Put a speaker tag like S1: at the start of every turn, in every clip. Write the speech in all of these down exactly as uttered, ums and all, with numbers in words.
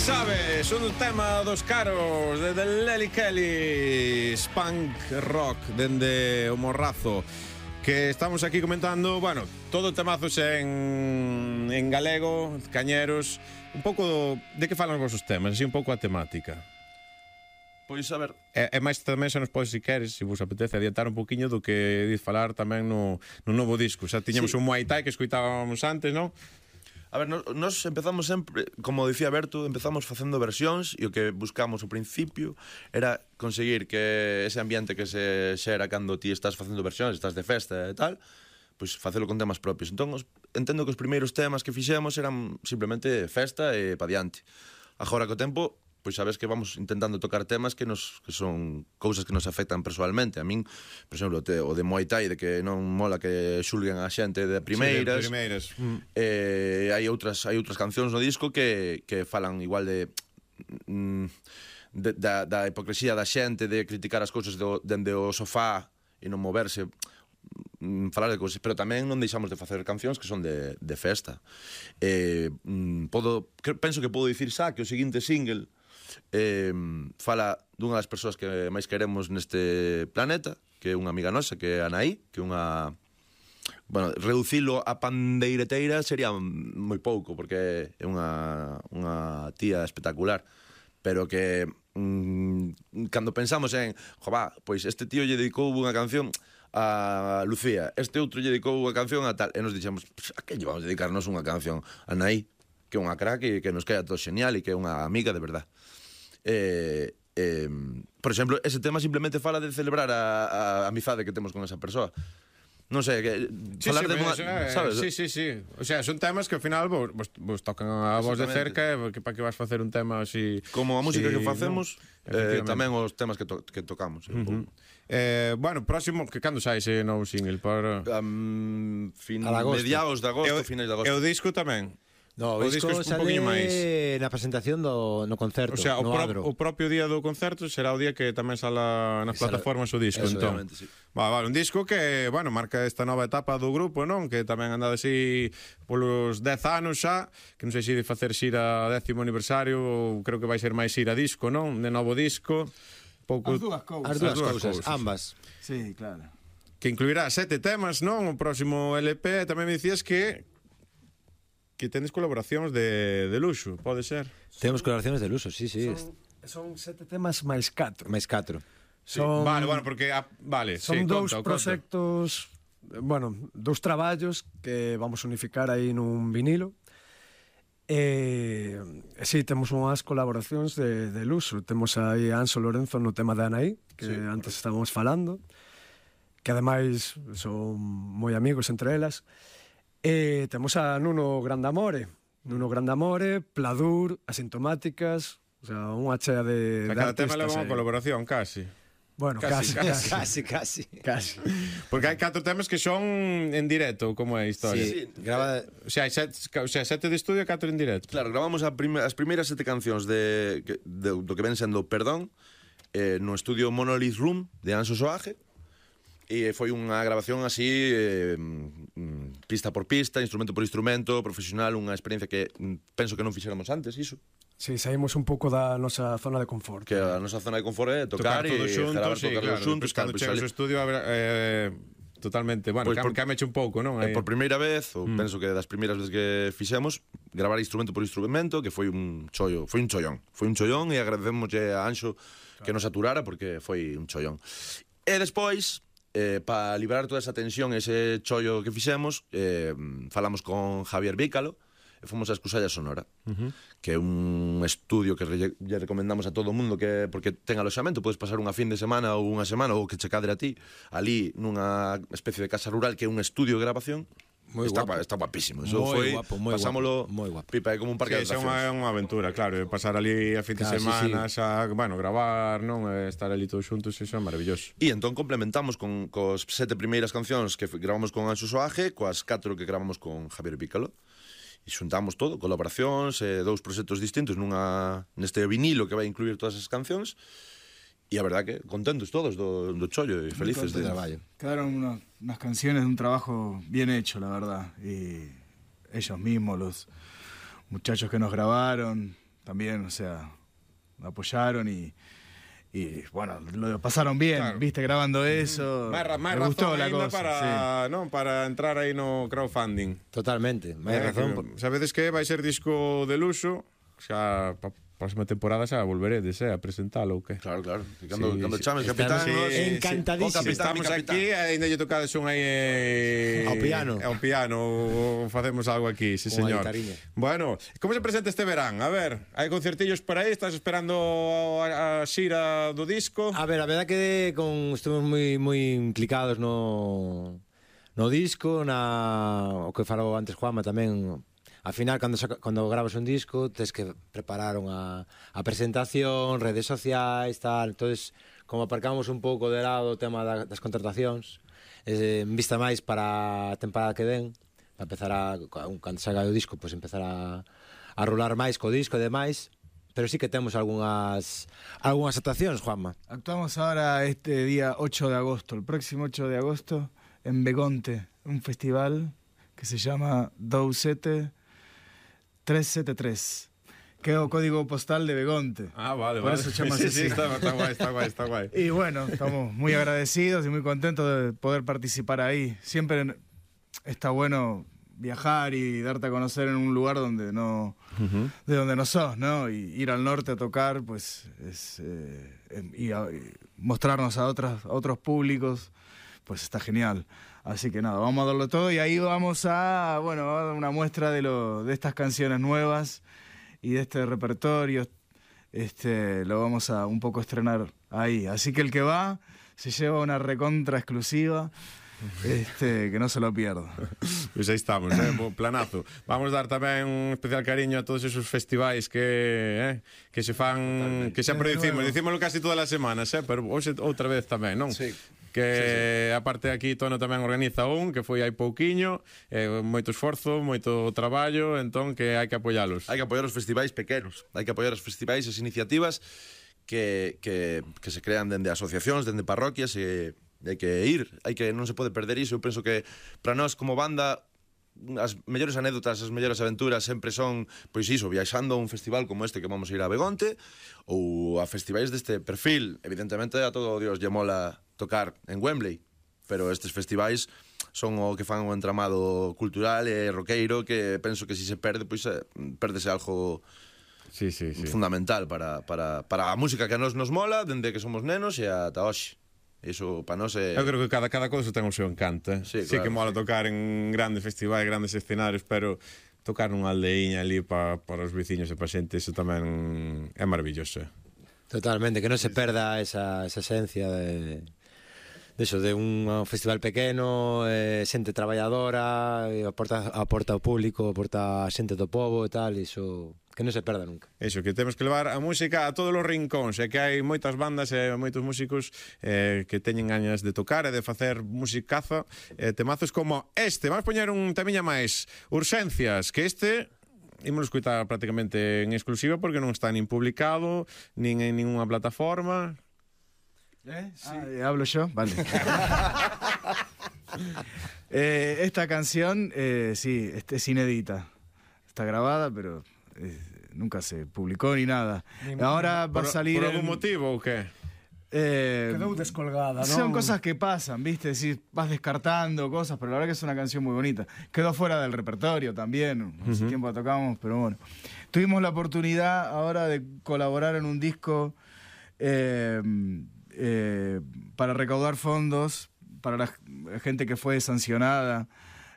S1: Sabes, un tema dos caros de Lely Kelly, Spunk Rock dende o Morrazo, que estamos aquí comentando, bueno, todo temazos en, en galego, cañeros. Un pouco de que falan os vosos temas, así un pouco a temática.
S2: Pois, a ver...
S1: E, e máis tamén se nos podes, se queres, se vos apetece, adiantar un poquinho do que diz falar tamén no, no novo disco. Xa tiñamos sí. un Muay Thai que escuitábamos antes, non?
S2: A ver, nos, nos empezamos sempre, como dicía Berto, empezamos facendo versións e o que buscamos ao principio era conseguir que ese ambiente que se xera cando ti estás facendo versións, estás de festa e tal, pois facelo con temas propios. Entón, os, entendo que os primeiros temas que fixemos eran simplemente festa e pa diante. Agora, co tempo, pois sabes que vamos intentando tocar temas que nos que son cousas que nos afectan persoalmente. A min, por exemplo, o, te, o de Muay Thai, de que non mola que xulguen a xente de primeiras.
S1: Sí, de primeiras. Mm.
S2: Eh, hai outras hai outras cancións no disco que, que falan igual de, mm, de da, da hipocresía da xente, de criticar as cousas do, dende o sofá e non moverse, falar de cousas, pero tamén non deixamos de facer cancións que son de, de festa. Eh, podo, penso que podo dicir xa que o seguinte single eh, fala dunha das persoas que máis queremos neste planeta, que é unha amiga nosa, que é Anaí, que é unha... Bueno, reducilo a pandeireteira sería moi pouco, porque é unha, unha tía espectacular, pero que mm, cando pensamos en, jová, pois este tío lle dedicou unha canción a Lucía, este outro lle dedicou unha canción a tal, e nos dixemos, a que lle vamos a dedicarnos unha canción a Anaí, que é unha crack e que nos queda todo genial e que é unha amiga de verdad. Eh, eh, por exemplo, ese tema simplemente fala de celebrar a, a amizade que temos con esa persoa. Non sei, que
S1: sí,
S2: falar
S1: sí,
S2: de unha,
S1: eh,
S2: sabes?
S1: Sí, sí, sí. O sea, son temas que ao final vos, vos, vos tocan a vos de cerca, que para que vas facer un tema así.
S2: Como a música
S1: sí,
S2: que facemos,
S1: no,
S2: eh, tamén os temas que, to, que tocamos.
S1: Uh-huh. Eh, bueno, próximo, que cando sai ese novo single? Para
S2: um, fin, mediados de agosto, finais de agosto.
S1: E o disco tamén?
S3: No, o, o disco, disco sale na presentación do no concerto.
S1: O sea,
S3: no
S1: o, pro, o propio día do concerto será o día que tamén sala nas Sala, plataformas o disco, entón.
S2: Sí.
S1: Vale, vale, un disco que, bueno, marca esta nova etapa do grupo, non? Que tamén anda así polos dez anos xa, que non sei se de facer xira décimo aniversario ou creo que vai ser máis xira disco, non? De novo disco.
S4: Pouco... As dúas cousas.
S3: As dúas cousas, ambas.
S4: Sí, claro.
S1: Que incluirá sete temas, non? O próximo L P, tamén me dicías que que tenes colaboracións de, de luxo, pode ser?
S3: Temos colaboracións de luxo, sí, sí.
S4: Son, son sete temas máis catro.
S3: Máis catro.
S1: Sí. Son, vale, bueno, porque... Ah, vale,
S4: son
S1: sí,
S4: dous
S1: conta,
S4: proxectos, conta. Bueno, dous traballos que vamos a unificar aí nun vinilo. E, e sí, temos unhas colaboracións de, de luxo. Temos aí a Anso Lorenzo no tema de Anaí, que sí, antes estábamos falando, que ademais son moi amigos entre elas. E temos a Nuno Grandamore, Nuno Grandamore, Pladur, Asintomáticas, o sea, unha chea de, de
S1: cada
S4: artistas.
S1: Cada tema leva unha colaboración, casi.
S4: Bueno,
S1: casi
S4: casi,
S3: casi, casi,
S4: casi.
S1: Porque hai catro temas que son en directo, como é a historia.
S2: Sí, sí.
S3: Grava...
S1: O sea, hai sete, o sea, sete de estudio e catro en directo.
S2: Claro, gravamos a prime, as primeiras sete cancións de, de, do que ven sendo Perdón, eh, no estudio Monolith Room de Anso Soaje. E foi unha grabación así, eh, pista por pista, instrumento por instrumento, profesional, unha experiencia que penso que non fixéramos antes, iso.
S4: Sí, saímos un pouco da nosa zona de confort.
S2: Que a nosa zona de confort é tocar,
S1: tocar
S2: e gravar
S1: sí,
S2: tocar
S1: claro,
S2: xuntos.
S1: Cando chegas ao estudio, eh, totalmente, bueno, pues que meche un pouco, non?
S2: Eh, por primeira vez, ou mm. penso que das primeiras veces que fixemos, gravar instrumento por instrumento, que foi un chollo, foi un chollón. Foi un chollón e agradecemoslle a Anxo que nos aturara porque foi un chollón. E despois... Eh, para liberar toda esa tensión, ese chollo que fixemos, eh, falamos con Javier Vícalo e fomos a Escusalla Sonora, uh-huh. que é un estudio que lle, lle recomendamos a todo o mundo, que porque ten aloxamento, podes pasar unha fin de semana ou unha semana ou que che cadre a ti ali nunha especie de casa rural que é un estudio de grabación.
S3: Moi
S2: está,
S3: guapo.
S2: Está guapísimo. Eso
S3: moi
S2: foi,
S3: guapo, moi
S2: pasámolo
S3: guapo, moi guapo.
S2: Pipa, é como un parque
S1: sí,
S2: de atraccións.
S1: É unha aventura, claro, pasar ali a fin de claro, semana, sí, sí. Xa, bueno, gravar, non, estar ali todos xuntos, iso é maravilloso.
S2: E entón complementamos con cos sete primeiras cancións que gravamos con Anxo Soaje, coas catro que gravamos con Javier Vícalo. E xuntamos todo, colaboracións, eh, dous proxectos distintos nunha neste vinilo que vai incluir todas as cancións. E a verdad que contentos todos do, do chollo e felices de
S3: traballo.
S5: Quedaron una, unas canciones de un trabajo bien hecho, la verdad. Y ellos mismos, los muchachos que nos grabaron, también, o sea, apoyaron y, y bueno, lo pasaron bien,
S1: Claro.
S5: viste, grabando eso.
S1: Máis, ra- máis
S5: me gustó
S1: razón
S5: la
S1: ainda
S5: cosa.
S1: para,
S5: sí.
S1: non, para entrar aí no crowdfunding.
S3: Totalmente, máis
S1: Eh,
S3: razón.
S1: que, sabedes que vai ser disco de luxo, xa pa próxima temporada xa volveredes, eh, a presentalo ou que?
S2: Claro, claro. Que Cando,
S1: Sí,
S2: cando
S1: sí.
S2: chames
S3: Estamos
S2: capitán, nos-
S3: encantadísimos.
S2: Con capitán,
S1: Estamos
S2: mi capitán.
S1: aquí, aínda lle tocades un aí eh,
S3: Ao piano.
S1: Ao piano, ou facemos algo aquí, sí,
S3: Unha
S1: señor.
S3: guitarriña.
S1: Bueno, como se presenta este verán? A ver, hai concertillos por aí, estás esperando a, a xira do disco?
S3: A ver, a verdad que con estuvimos moi moi implicados no no disco, na o que falou antes Juanma tamén. Al final, cando, saca, cando grabas un disco, tens que preparar unha a presentación, redes sociais, tal. Entonces, como aparcamos un pouco de lado o tema da, das contratacións, eh, en vista máis para a temporada que ven, para empezar a, cando salga o disco, pues empezar a, a rolar máis co disco e demais. Pero sí que temos algunhas algunhas actuacións, Juanma.
S5: Actuamos ahora este día ocho de agosto, el próximo ocho de agosto, en Begonte, un festival que se llama Dousete trescientos setenta y tres, que é o código postal de Begonte.
S1: Ah, vale,
S5: Por
S1: vale.
S5: eso chamas
S1: sí,
S5: así.
S1: sí, está, está guay, está guay, está guay.
S5: Y bueno, estamos muy agradecidos y muy contentos de poder participar ahí. Siempre está bueno viajar y darte a conocer en un lugar donde no, uh-huh. de donde no sos, ¿no? Y ir al norte a tocar, pues, es, eh, y, a, y mostrarnos a, otras, a otros públicos, pues está genial. Así que nada, vamos a darlo todo y ahí vamos a, bueno, a dar una muestra de, lo, de estas canciones nuevas y de este repertorio. Este, lo vamos a un poco estrenar ahí. Así que el que va se lleva una recontra exclusiva. Este, que non se lo pierda.
S1: Pois aí estamos, eh? Bo planazo. Vamos dar tamén un especial cariño a todos esos festivais que eh, que se fan, totalmente, que sempre dicimos, dicímoslo casi todas as semanas, eh? Pero hoxe outra vez tamén, non?
S2: Sí.
S1: Que
S2: sí, sí.
S1: aparte aquí Tono tamén organiza un que foi hai pouquiño, eh, moito esforzo, moito traballo, entón que hai que apoialos.
S2: Hai que apoiar os festivais pequenos, hai que apoiar os festivais, as iniciativas que, que, que se crean dende asociacións, dende parroquias e hai que ir, hai que non se pode perder iso. Eu penso que para nós como banda as mellores anécdotas, as mellores aventuras sempre son, pois iso, viaxando a un festival como este que vamos a ir a Begonte ou a festivais deste perfil. Evidentemente a todo Dios lle mola tocar en Wembley, pero estes festivais son o que fan un entramado cultural e roqueiro que penso que se se perde, pois perdese algo
S1: sí, sí, sí.
S2: fundamental para, para, para a música que a nos nos mola dende que somos nenos e ata hoxe. Iso para nós é...
S1: Eu creo que cada, cada cousa ten o seu encanto, eh?
S2: Sí,
S1: sí,
S2: claro,
S1: que mola
S2: sí.
S1: tocar en grandes festivais, grandes escenarios, pero tocar nunha aldeiña ali para pa os veciños e para xente, iso tamén é maravilloso.
S3: Totalmente, que non se perda esa, esa esencia de, de eso, de un festival pequeno, eh, xente traballadora, e aporta, aporta ao público, aporta a xente do povo e tal, iso que non se perda nunca.
S1: Eso, que temos que levar a música a todos os rincóns, e que hai moitas bandas e moitos músicos eh, que teñen gañas de tocar e de facer musicaza, eh, temazos como este. Vamos poñer un temiña máis, Urxencias, que este ímolo escutar prácticamente en exclusiva porque non está nin publicado, nin en ninguna plataforma.
S5: ¿Eh? Sí. Ah, ¿hablo yo? Vale. eh, esta canción, eh, sí, es inédita. Está grabada, pero eh, nunca se publicó ni nada. Ni Ahora va
S1: por,
S5: a salir...
S1: ¿Por algún
S5: en,
S1: motivo o qué?
S5: Eh,
S4: Quedou descolgada, ¿no?
S5: Son cosas que pasan, ¿viste? Decir, vas descartando cosas, pero la verdad que es una canción muy bonita. Quedó fuera del repertorio también, no sé uh-huh. tiempo la tocamos, pero bueno. Tuvimos la oportunidad ahora de colaborar en un disco eh, eh, para recaudar fondos para la gente que fue sancionada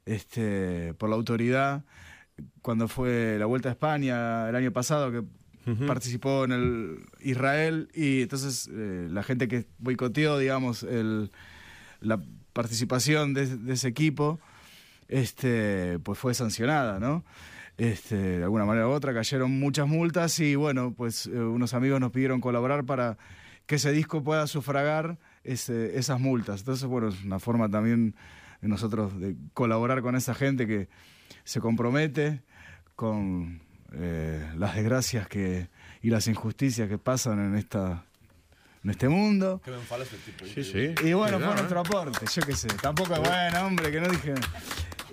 S5: este, por la autoridad cuando fue la Vuelta a España el año pasado, que uh-huh. participó en el Israel, y entonces eh, la gente que boicoteó, digamos, el, la participación de, de ese equipo, este, pues fue sancionada, ¿no? Este, de alguna manera u otra cayeron muchas multas y bueno, pues eh, unos amigos nos pidieron colaborar para que ese disco pueda sufragar ese, esas multas. Entonces, bueno, es una forma también de nosotros de colaborar con esa gente que se compromete con eh, las desgracias que, y las injusticias que pasan en esta en este mundo.
S2: Que me enfala este tipo.
S1: Sí, sí.
S5: Y bueno,
S1: Cuidado,
S5: fue
S1: ¿eh?
S5: nuestro aporte, yo qué sé. Tampoco es bueno, hombre, que no dije...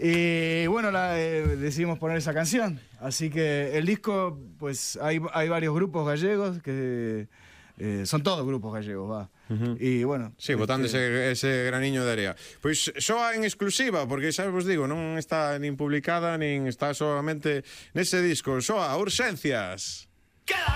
S5: Y bueno, la, eh, decidimos poner esa canción. Así que el disco, pues hay, hay varios grupos gallegos que eh, son todos grupos gallegos, va. Uh-huh. Y bueno,
S1: sí, botando este... ese, ese graniño de area. Pois soa en exclusiva, porque xa vos digo, non está nin publicada, nin está solamente nese disco. Soa Urxencias. Queda